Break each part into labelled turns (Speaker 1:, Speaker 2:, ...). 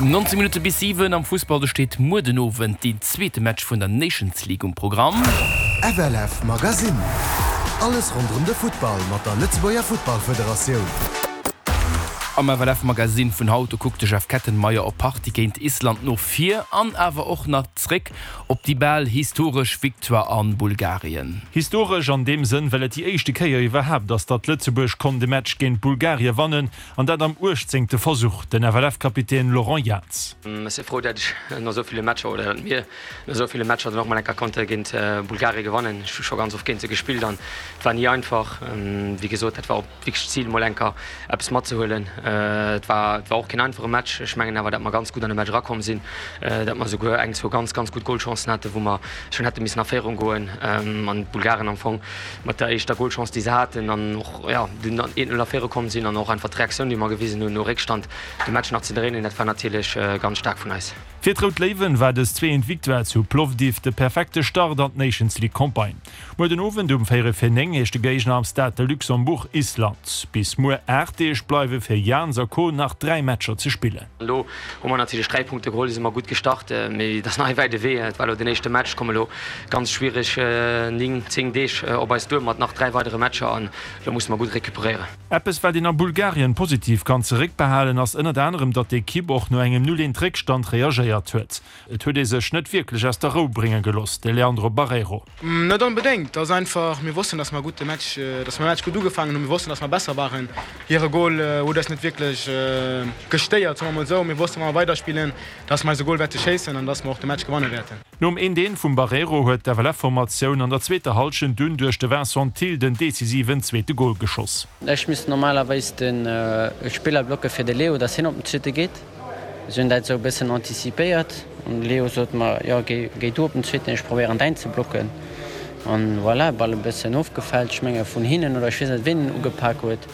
Speaker 1: 19 Minutte bis 7 am Fussball, do steet muer den Owend deen zweete Match vun der Nations League um Programm.
Speaker 2: FLF Magazine, Alles ronderëm de Futtball mat der Lëtzebuerger Futtballfederatioun.
Speaker 1: Am FLF Magazine vun haut, do kuckt de Jeff Kettenmeyer op d'Partie géint Island no vir an awer och nach zréck op déi bal historesch Victoire a Bulgarien.
Speaker 3: Historesch an deem Sënn, well et déi éischte Kéier iwwerhaapt ass, datt Lëtzebuerg konnt e Match géint Bulgarie wannen, an dat am uechtzéngte Versuch. Den FLF-Kapitän Laurent Jans.
Speaker 4: Ech si frou, datt ech no esou ville Matcher, oder datt mir no esou ville Matcher dann och mol eng Kéier konnte géint Bulgarie gewannen. Ech hu scho ganz oft géint se gespillt an et war ni einfach. Wéi gesot, dat war och wierklech d'Zil, mol eng Kéier eppes matzehuelen. Et war, et war och keen einfache Match. Ech mengen awer, datt mer ganz gutt an de Match erakomm sinn, datt mer esouguer eng, zwou ganz, ganz gutt Golchancen haten, wou mer schonn hätte missen a Féierung goen an d'Bulgaren am Fong mat der éischter Golchance, déi se haten an och, jo, dunn an 1, 0 a Féierung komm sinn an och einfach d'Reaktioun, déi mer gewisen hunn, no Réckstand de Match nach ze dréinen, dat war natierlech ganz staark vun eis.
Speaker 3: Fir d'Rout Léiwen war dës zweent Victoire zu Plovdiv de perfekte Start an d'Nations League Campagne. Muer den Owend um véierel vir 9 heescht de Géigner am Stade de Luxembourg Island. Bis muer 8 Deeg bleiwe fir Jans a Co nach 3 Matcher ze spillen.
Speaker 4: Elo hu mer natierlech 3 Punkte geholl, si mer gutt gestart, mee et ass nach e wäite Wee. Et war elo den éischte Match, komme elo ganz schwiereg 9, 10 Deeg op eis duer mat nach 3 weidere Matcher an elo musse mer gutt recuperéieren.
Speaker 3: Eppes wat een a Bulgarien positiv kann zeréckbehalen ass ënnert anerem, datt d'Ekipp och no engem 0, 1 Réckstand reagéiert huet. Et huet ee sech net wierklech aus der Rou brénge gelooss, de Leandro Barreiro.
Speaker 5: Net onbedéngt, et ass einfach, mir wossten, datt mer gutt de Match, datt mer de Match gutt ugefaangen hunn. Mir wossten, datt mer besser waren. Hire Gol huet eis net wierklech gestéiert, soe mer mol esou. Mir wossten, wa mer weiderspillen, datt mer eise Gol wäerte schéissen an datt mer och de Match gewanne wäerten.
Speaker 3: Nom 1, 1 vum Barreiro huet d'FLF-Formatioun an der zweeter Hallschent dunn duerch de Vincent Thill den decisiven zweete Gol geschoss.
Speaker 6: Ech misst normalerweis de Spiller blocke fir de Leo, dass hien op den zweete geet. Si hunn dat esou e bëssen antizipéiert an de Leo sot mer, jo géi du op den zweeten, ech probéieren däin ze blocken. An voilà, Ball e bëssen ofgefällt, ech menge vun hinnen oder ech weess net ween en ugepak huet.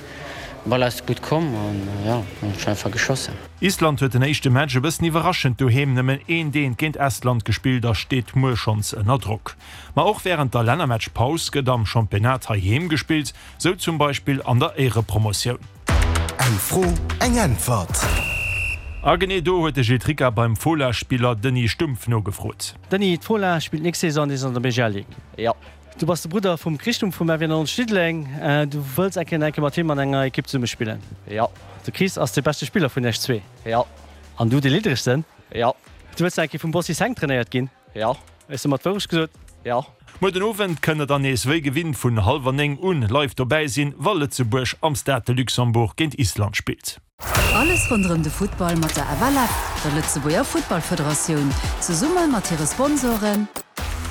Speaker 6: Ball ass gutt komm an jo, dann hunn ech einfach geschossen.
Speaker 3: Island huet den éischte Match e bëssen iwwerraschend doheem nëmmen eent eent géint Estland gespillt a steet muer schonns ënner Drock. Ma och wärend der Lännermatchpaus gëtt am Championnat heiheem gespillt, sou zum Beispill an der Éierepromotioun.
Speaker 2: Eng Fro, eng Äntwert.
Speaker 3: A genee do huet de Gilles Tricca beim Fola-Spiller Denis Stumpf nogefrot.
Speaker 7: Denis, d'Fola spillt nächst Saison nees an der BGL Ligue.
Speaker 6: Jo.
Speaker 7: Du bass de Brudder vum Chris Stumpf vum FW 90 Diddeleng. Du wëlls eng Kéier mat him an enger Ekipp zesumme spillen?
Speaker 6: Jo.
Speaker 7: De Chris ass de beschte Spiller vun iech zwee?
Speaker 6: Jo.
Speaker 7: An du dee lidderegsten?
Speaker 6: Jo.
Speaker 7: Du wëlls eng Kéier vum Bossi Seng trainéiert ginn?
Speaker 6: Jo.
Speaker 7: Hues de mer d'Wourecht gesot?
Speaker 6: Jo.
Speaker 3: Muer den Owend kënnt der dann nees wéi gewinnt vun hallwer 9 un live dobäi sinn, wa Lëtzebuerg am Stade de Luxembourg géint Island spillt.
Speaker 8: Alles ronderëm de Futtball mat der FLF, der Lëtzebuerger Futtballfederatioun, zesumme mat hire Sponsoren.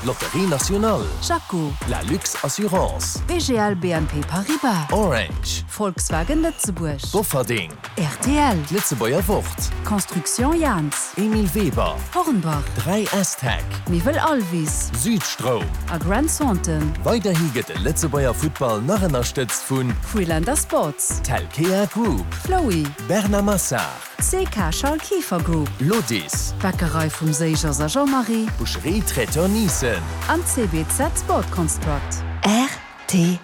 Speaker 2: Lotterie Nationale.
Speaker 8: Jaco.
Speaker 2: La Lux Assurance.
Speaker 8: BGL BNP Paribas.
Speaker 2: Orange.
Speaker 8: Volkswagen Lëtzebuerg.
Speaker 2: Bofferding.
Speaker 8: Rtl.
Speaker 2: D'Lëtzebuerger Wort.
Speaker 8: Construction Jans.
Speaker 2: Emile Weber.
Speaker 8: Hornbach.
Speaker 2: 3S Tech.
Speaker 8: Miwwel Alvis.
Speaker 2: Südstroum.
Speaker 8: A Grant Thornton.
Speaker 2: Weiderhi gëtt de Lëtzebuerger Futtball nach ënnerstëtzt vun.
Speaker 8: Freelander Sports.
Speaker 2: Telkea Group.
Speaker 8: Flowy.
Speaker 2: Bernard Massard.
Speaker 8: CK Charles Kieffer Group.
Speaker 2: Lodis.
Speaker 8: Bäckerei vum Seegers a Jean-Marie.
Speaker 2: Boucherie Traiteur Niesen.
Speaker 8: An CBZ Sport Construct.
Speaker 9: Rtl.